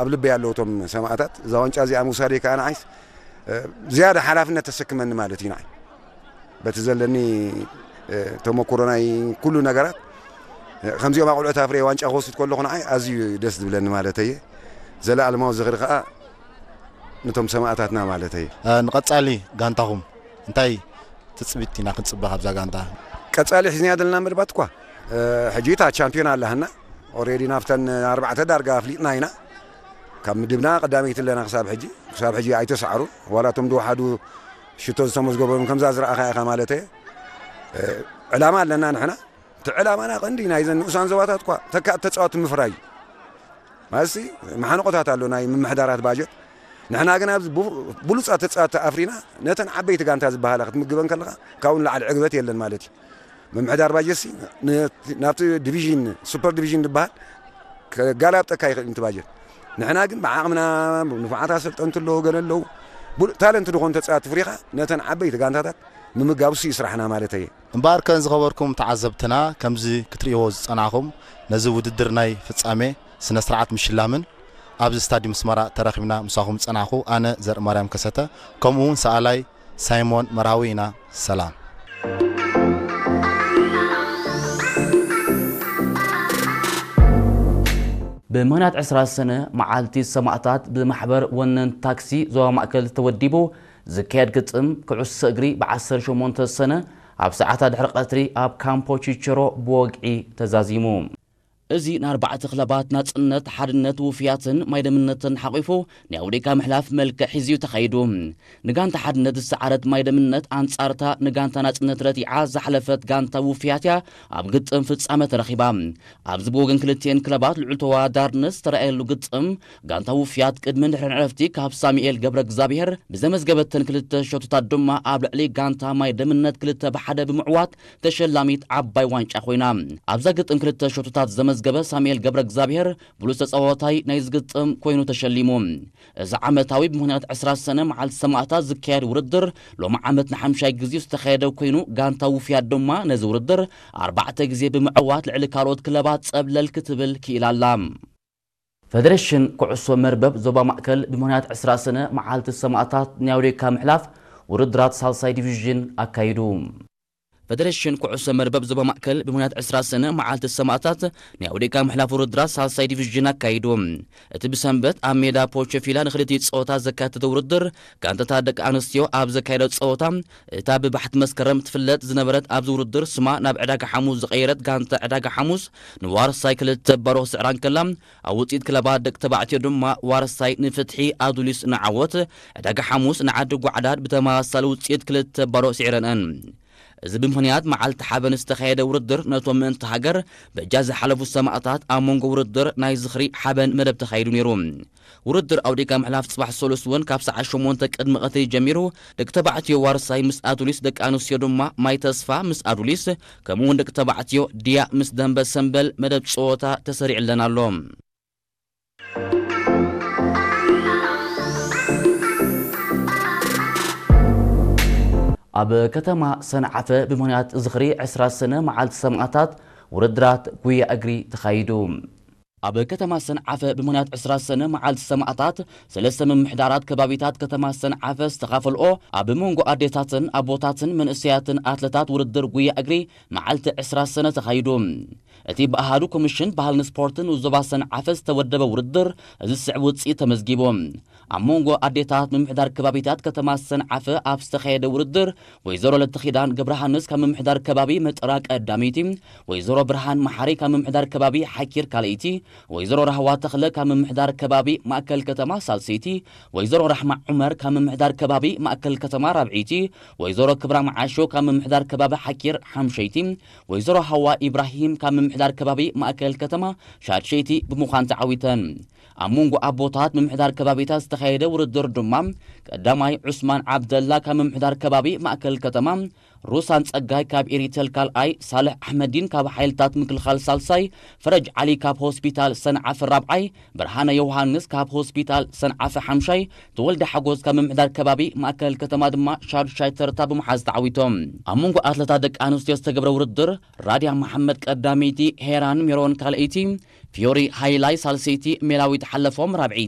ኣብ ልበይ ኣለዉ እቶም ሰማእታት። እዛ ዋንጫ እዚኣ ምውሳደይ ከኣ ንዓይስ፣ እ፣ ዝያዳ ሓላፍነት ተሰክመኒ ማለት እዩ ንዓይ። በቲ ዘለኒ፣ እ፣ ተመኩሮ ናይ ኩሉ ነገራት፣ እ፣ ከምዚኦም ኣቑልዑት ኣፍርየ ዋንጫ ክወስድ ከለኹ ንዓይ ኣዝዩ ደስ ዝብለኒ ማለት እየ። ዘለኣለማዊ ዝኽሪ ከኣ ነቶም ሰማእታትና ማለት እየ። እ፣ ንቐጻሊ ጋንታኹም እንታይ ትጽቢት ኢና ክንጽበ ካብዛ ጋንታ? ቀጻሊ ሒዝናያ ዘለና መደባት እኳ፣ እ፣ ሕጂ እታ ቻምፒዮን ኣላህና። ኦሬዲ ናብተን ኣርባዕተ ዳርጋ ኣፍሊጥና ኢና። ካብ ምድብና ቀዳመይቲ ኣለና ክሳብ ሕጂ። ክሳብ ሕጂ ኣይተሰዓሩን። ዋላ እቶም ዝወሓዱ ሽቶ ዝተመዝገበሎም ከምዛ ዝረኣኻ ኢኻ ማለት እየ። እ፣ ዕላማ ኣለና ንሕና። እቲ ዕላማና ቀንዲ ናይዘን ንኡሳን ዞባታት እኳ ተካእቲ ተጻወቲ ምፍራይ እዩ። ማለትሲ መሓንቆታት ኣሎ ናይ ምምሕዳራት ባጀት። ንሕና ግን ኣብዚ ቡ-፣ ብሉጻት ተጻወቲ ኣፍሪና ነተን ዓበይቲ ጋንታ ዝበሃላ ክትምግበን ከለኻ ካብኡ ንላዕሊ ዕግበት የለን ማለት እዩ። ምምሕዳር ባጀትሲ ን-፣ ናብቲ ዲቪዥን፣ ሱፐር ዲቪዥን ዝበሃል ከጋላብጠካ ይኽእል እዩ እቲ ባጀት። ንሕና ግን ብዓቕምና፣ ንፉዓት ኣሰልጠንቲ ኣለዉ፣ ገለ ኣለዉ። ብሉ-፣ ታለንት ዝኾኑ ተጻወቲ ፍሪኻ ነተን ዓበይቲ ጋንታታት ምምጋብ እሱ እዩ ስራሕና ማለት እየ። እምበኣርከ ዝኸበርኩም ተዓዘብትና፣ ከምዚ ክትርእይዎ ዝጸናሕኹም ነዚ ውድድር ናይ ፍጻሜ ስነ ስርዓት ምሽላምን ኣብዚ ስታድዩም ኣስመራ ተራኺብና ምሳኹም ዝጸናሕኩ ኣነ ዘርእማርያም ከሰተ፣ ከምኡ እውን ሰኣላይ ሳይሞን መርሃዊ ኢና። ሰላም። ብምኽንያት ዕስራ ሰነ መዓልቲ ሰማእታት ብማሕበር ወነን ታክሲ ዞባ ማእከል ተወዲቡ ዝካየድ ግጥም ኩዕሶ እግሪ ብ ዓሰርተ ሸሞንተ ሰነ ኣብ ሰዓታት ድሕሪ ቀትሪ ኣብ ካምፖ ቺቸሮ ብወግዒ ተዛዚሙ። እዚ ንኣርባዕተ ክለባት ናጽነት፣ ሓድነት፣ ውፍያትን ማይደምነትን ሓቂፉ ናይ ኣውዴካ ምሕላፍ መልክዕ ሒዙ እዩ ተኻይዱ። ንጋንታ ሓድነት ዝሰዓረት ማይደምነት ኣንጻርታ ንጋንታ ናጽነት ረቲዓ ዝሓለፈት ጋንታ ውፍያት እያ ኣብ ግጥም ፍጻመ ተረኺባ። ኣብዚ ብወገን ክልቲኤን ክለባት ልዑል ተወዳዳርነት ዝተረኣየሉ ግጥም፣ ጋንታ ውፍያት ቅድምን ድሕርን ዕረፍቲ ካብ ሳሙኤል ገብረ እግዚኣብሔር ብዘመዝገበተን ክልተ ሸቶታት ድማ ኣብ ልዕሊ ጋንታ ማይደምነት ክልተ ብሓደ ብምዕዋት ተሸላሚት ዓባይ ዋንጫ ኮይና። ኣብዛ ግጥም ክልተ ሸቶታት ዘመዝገበ ሳሙኤል ገብረ እግዚኣብሔር ብሉጽ ተጻዋታይ ናይዚ ግጥም ኮይኑ ተሸሊሙ። እዚ ዓመታዊ ብምኽንያት ዕስራ ሰነ መዓልቲ ሰማእታት ዝካየድ ውድድር ሎሚ ዓመት ንሓምሻይ ግዜ ዝተኻየደ ኮይኑ፣ ጋንታ ውፍያት ድማ ነዚ ውድድር ኣርባዕተ ግዜ ብምዕዋት ልዕሊ ካልኦት ክለባት ጸብለል ክትብል ክኢላ ኣላ። ፈደሬሽን ኩዕሶ መርበብ ዞባ ማእከል ብምኽንያት ዕስራ ሰነ መዓልቲ ሰማእታት ናይ ኣውዴካ ምሕላፍ ውድድራት ሳልሳይ ዲቪዥን ኣካይዱ። ፈደሬሽን ኩዕሶ መርበብ ዞባ ማእከል ብምኽንያት ዕስራ ሰነ መዓልቲ ሰማእታት ናይ ኣውዴካ ምሕላፍ ውድድራት ሳልሳይ ዲቪዥን ኣካይዱ። እቲ ብሰንበት ኣብ ሜዳ ፖቸፊላ ንክልቲኡ ጸወታ ዘካተተ ውድድር፣ ጋንታታት ደቂ ኣንስትዮ ኣብ ዘካየዶ ጸወታ፣ እታ ብባሕቲ መስከረም ትፍለጥ ዝነበረት ኣብዚ ውድድር ስማ ናብ ዕዳጋ ሓሙስ ዝቐየረት ጋንታ ዕዳጋ ሓሙስ ንዋርሳይ ክልተ ባዶ ክስዕራ እንከላ፣ ኣብ ውጽኢት ክለባት ደቂ ተባዕትዮ ድማ ዋርሳይ ንፍትሒ ኣዱሊስ ንዓወት፣ ዕዳጋ ሓሙስ ንዓዲ ጓዕዳድ ብተመሳሳሊ ውጽኢት ክልተ ባዶ ስዒረንአን። እዚ ብምኽንያት መዓልቲ ሓበን ዝተኻየደ ውድድር ነቶም ምእንቲ ሃገር በጃ ዝሓለፉ ሰማእታት ኣብ መንጎ ውድድር ናይ ዝኽሪ ሓበን መደብ ተኻይዱ ነይሩ። ውድድር ኣውዴካ ምሕላፍ ጽባሕ ሰሉስ እውን ካብ ሰዓት ሸሞንተ ቅድሚ ቀትሪ ጀሚሩ፣ ደቂ ተባዕትዮ ዋርሳይ ምስ ኣዱሊስ፣ ደቂ ኣንስትዮ ድማ ማይ ተስፋ ምስ ኣዱሊስ፣ ከምኡ እውን ደቂ ተባዕትዮ ድያ ምስ ደንበ ሰምበል መደብ ጸወታ ተሰሪዕለን ኣሎ። ኣብ ከተማ ሰንዓፈ ብምኽንያት ዝኽሪ ዕስራ ሰነ መዓልቲ ሰማእታት ውድድራት ጉያ እግሪ ተኻይዱ። ኣብ ከተማ ሰንዓፈ ብምኽንያት ዕስራ ሰነ መዓልቲ ሰማእታት ሰለስተ ምምሕዳራት ከባቢታት ከተማ ሰንዓፈ ዝተኻፈልኦ ኣብ መንጎ ኣዴታትን ኣቦታትን መንእሰያትን ኣትለታት ውድድር ጉያ እግሪ መዓልቲ ዕስራ ሰነ ተኻይዱ። እቲ ብኣሃዱ ኮሚሽን ባህልን ስፖርትን ዞባ ሰንዓፈ ዝተወደበ ውድድር እዚ ዝስዕብ ውጽኢት ተመዝጊቡ። ኣብ መንጎ ኣዴታት ምምሕዳር ከባቢታት ከተማ ሰንዓፈ ኣብ ዝተኻየደ ውድድር፣ ወይዘሮ ለተኺዳን ገብረሃንስ ካብ ምምሕዳር ከባቢ መጠራ ቀዳመይቲ፣ ወይዘሮ ብርሃን መሓሪ ካብ ምምሕዳር ከባቢ ሓኪር ካልኣይቲ፣ ወይዘሮ ራህዋ ተኽለ ካብ ምምሕዳር ከባቢ ማእከል ከተማ ሳልሰይቲ፣ ወይዘሮ ራሕማ ዑመር ካብ ምምሕዳር ከባቢ ማእከል ከተማ ራብዐይቲ፣ ወይዘሮ ክብራ መዓሾ ካብ ምምሕዳር ከባቢ ሓኪር ሓምሸይቲ፣ ወይዘሮ ሃዋ ኢብራሂም ካብ ምምሕዳር ከባቢ ማእከል ከተማ ሻድሸይቲ ብምዃን ተዓዊተን። ኣብ መንጎ ኣቦታት ምምሕዳር ከባቢታት ዝተኻየደ ውድድር ድማ፣ ቀዳማይ ዑስማን ዓብደላ ካብ ምምሕዳር ከባቢ ማእከል ከተማ፣ ሩሳን ጸጋይ ካብ ኤሪተል ካልኣይ፣ ሳልሕ ኣሕመዲን ካብ ሓይልታት ምክልኻል ሳልሳይ፣ ፈረጅ ዓሊ ካብ ሆስፒታል ሰንዓፈ ራብዓይ፣ ብርሃነ ዮሃንስ ካብ ሆስፒታል ሰንዓፈ ሓምሻይ፣ ተወልደ ሓጎስ ካብ ምምሕዳር ከባቢ ማእከል ከተማ ድማ ሻዱሻይ ተርታ ብምሓዝ ተዓዊቶም። ኣብ መንጎ ኣትለታት ደቂ ኣንስትዮ ዝተገብረ ውድድር፣ ራድያ መሓመድ ቀዳመይቲ፣ ሄራን ሜሮን ካልኣይቲ፣ ፊዮሪ ሃይላይ ሳልሰይቲ፣ ሜላዊት ሓለፎም ራብዐይቲ፣